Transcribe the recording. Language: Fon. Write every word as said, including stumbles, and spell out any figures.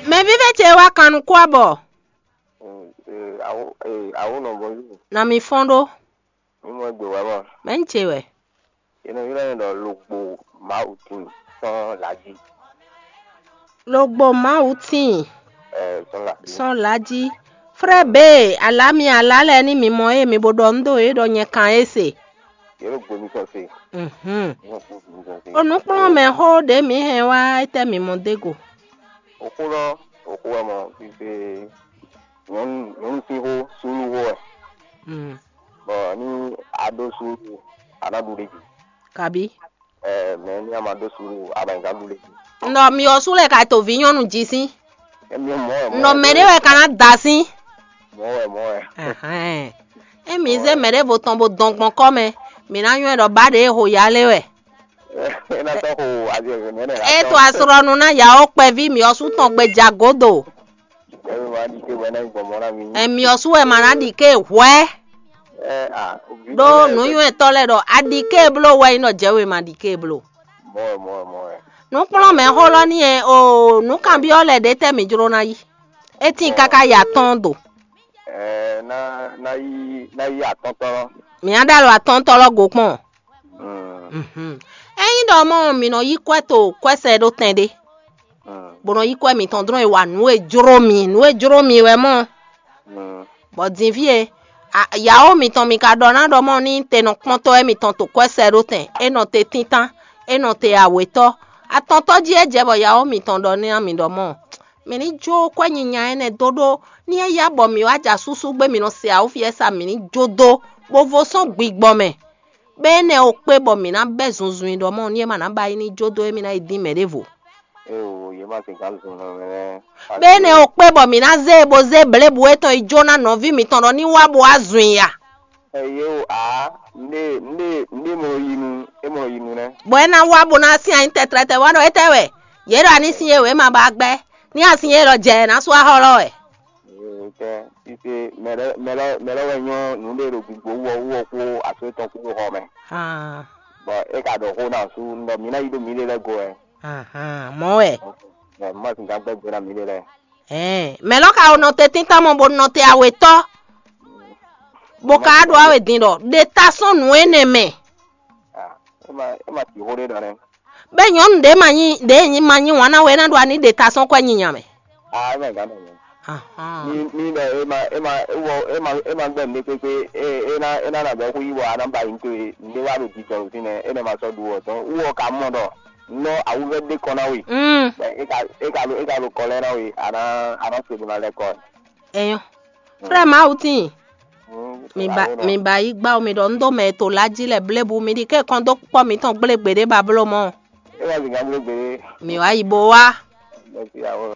Mɛ vívɛ́ ce wá kan nukún abɔ. Ee, awo, ee, awo nɔ bɔ yí. Na mi fɔ́n ɖó. Mi mɔ egbe wá ma. Mɛ ń ce wɛ. Yě nɔ ylɔ́ nyɛ ɖɔ Logbo Mawu tíin sɔ́n lǎjí. Logbo Mawu tíin. Ɛɛ, sɔ́n lǎjí. Sɔ́n lǎjí. Frɛ be, alǎ mi alǎ lɛ́ɛ ní mi mɔ ée mi bo ɖɔ nú ɖo é ɖɔ nyɛ kan é se. Yě ɖo gbo mitɔn se. Mhm. Yě ɖo gbo mitɔn se. O nǔkplɔ́nmɛ xó ɖě mǐ hɛn wá étɛ́ mǐ mɔ dó go? Oxó lɔ, oxó wɛ mɔ fífé nyɔ̌nu nyɔ̌nu sín xó súnnu xó wɛ. Mm. Bɔ ní a ɖó súnnu, a nǎ ɖu ɖ'é jí. Kabi. Ɛ, mɛ ní a ma ɖó súnnu, a ma nyí ká ɖu ɖ'é jí. Nɔ mi ɔ́ sú lɛ ka to vǐ nyɔ́nu jí sín. Emi mɔ wɛ mɔ. Nɔ wɛ, mɛ ɖé wɛ ka ná da sín. Mɔ wɛ mɔ wɛ. Ahɛn. Emi zé mɛ ɖěvo tɔn bo dɔn gbɔn kɔ́ mɛ, mǐ ná nywɛ́ ɖɔ ba ɖě e ho ya lé wɛ. É ná tɔ́ xo azɔ̌ mɛ nɛ. É to asrɔ́nu ná yǎ ó kpɛví mǐ ɔ́ sú tɔn gbe ja gǒdo. Emi ma ɖi ké wɛ ná nyí gbɔmɔ ná mi. Ɛmí ɔ́ sú wɛ ma ná ɖi ké hwɛ́. Ɛ a. Ɖó nǔnywɛ́tɔ́ lɛ́ɛ ɖɔ aɖi ké bló wɛ nyí nɔ jɛ we ma ɖi ké bló. Mɔ wɛ mɔ wɛ mɔ wɛ. Nǔkplɔ́nmɛ xó lɔ ní e o nǔkanbyɔ́ lɛ́ɛ ɖě tɛ́ mǐ jló ná yí. É tíin káká ya tɔ́n do. Ɛɛ, ná ná yí ná yí atɔ́ntɔ́ lɔ. Mǐ á ɖo alɔ atɔ́ntɔ́ lɔ go kpɔ́n. Mm. Mhm. Ényí ɖɔ mɔ mǐ nɔ yí kwɛ́ to kwɛ́sɛ ɖó tɛn ɖé, mm, bó nɔ yí kwɛ́ mǐtɔn dlɔ́n e wa nǔ e jló mì, nǔ e jló mì wɛ mɔ. Mm. Bɔ din fí e, a- yǎwo mǐtɔn mi ka ɖɔ ná ɖɔ mɔ ní te nɔ kpɔ́n tɔ́ wɛ mǐtɔn to kwɛ́sɛ ɖó tɛn, é nɔ te tíntán, é nɔ te awětɔ́. Atɔntɔ́ jí é jɛ bɔ yǎwo mǐtɔn ɖɔ ní mǐ ɖɔ mɔ mǐ ní jó kwɛ́ nyinya énɛ́ dó ɖó ní é yá bɔ mǐ wá ja súsú gbé mǐ nɔ se awǒ fí ɛ sa mǐ ní jó dó bó vo sɔ́n gbigbɔ mɛ. Bɔ énɛ́ ɔ́ kpé bɔ mǐ ná bɛ́ zunzun i ɖɔ mɔ ní é ma ná ba yi ní jó dó émí ná yi dín mɛ ɖěvo. Eo, yě ma sixá zun nɔ mɛ lɛ́ɛ. Bɔ énɛ́ ɔ́ kpé bɔ mǐ ná zé e bó zé blěbǔ étɔn yi jó ná nɔví mǐtɔn ɖɔ ní wá bo wá zun i a. Eye o a, nɖe nɖe nɖe mɔ yi nu, e mɔ yi nu nɛ. Bɔ é ná wá bó ná sín anyí tɛtrɛtɛ wá ɖɔ étɛ́ wɛ yě ɖɔ aní sín e wě ma ba gbɛ́ ní asin e lɔ jɛ ná sú axɔ lɔ wɛ. Tɛ sise mɛ lɔ mɛ lɔ mɛ lɔ wɛ nyɔ nǔ ɖe ɖo gbigbo wú ɔ wú ɔ kpó aso tɔn kpó xɔ mɛ. Hàn. Bɔ é ka ɖɔ xó ná sú ɖɔ mǐ ná yi ɖó mǐɖée lɛ́ɛ go wɛ. Hàn hàn mɔ wɛ. Mɛ má sixá gbɛ́ gbe ná mǐɖée lɛ́ɛ. Ɛɛ mɛ lɔ ka wo nɔ te tíntan mɔ bo nɔ te awetɔ. Bo ka ɖo awe din ɖɔ ɖe ta sɔn nǔ énɛ́ mɛ. Ah, é ma é ma ti xó ɖé ɖɔ nɛ. Bɛ nyɔnu ɖe ma nyi ɖe nyi ma nyi wana wɛ na ɖo ani ɖe ta sɔn kwɛ nyinya mɛ. Ah, é ma gán mɛ. Ahan. Ni ni ɖɔ é ma é ma é wɔ é ma é ma gbɛ nɖé kpékpé é é na é na na bɛ xú yi wɔ ana ba yi to é nɖé wa ɖo jijɔ ɖo fínɛ é nɛ ma sɔ ɖu wɔ tɔn wɔ ka mɔ ɖɔ nɔ awuvɛ ɖé kɔ na we. Mm. Bɛ é ka é ka ɖo é ka ɖo kɔlɛ na we ana ana se ɖo na lɛ kɔ. Eyo. Frère Mawutin. Mi ba mi ba yi gba mi ɖɔ un ɖo mɛ to la jí lɛ blebu mi ɖi ke kɔn dó kpɔ mitɔn gblé gbeɖé ba bló mɔ. É wá zǐngán bló gbé. Mi wá yi bo wá. Mɛsi awo.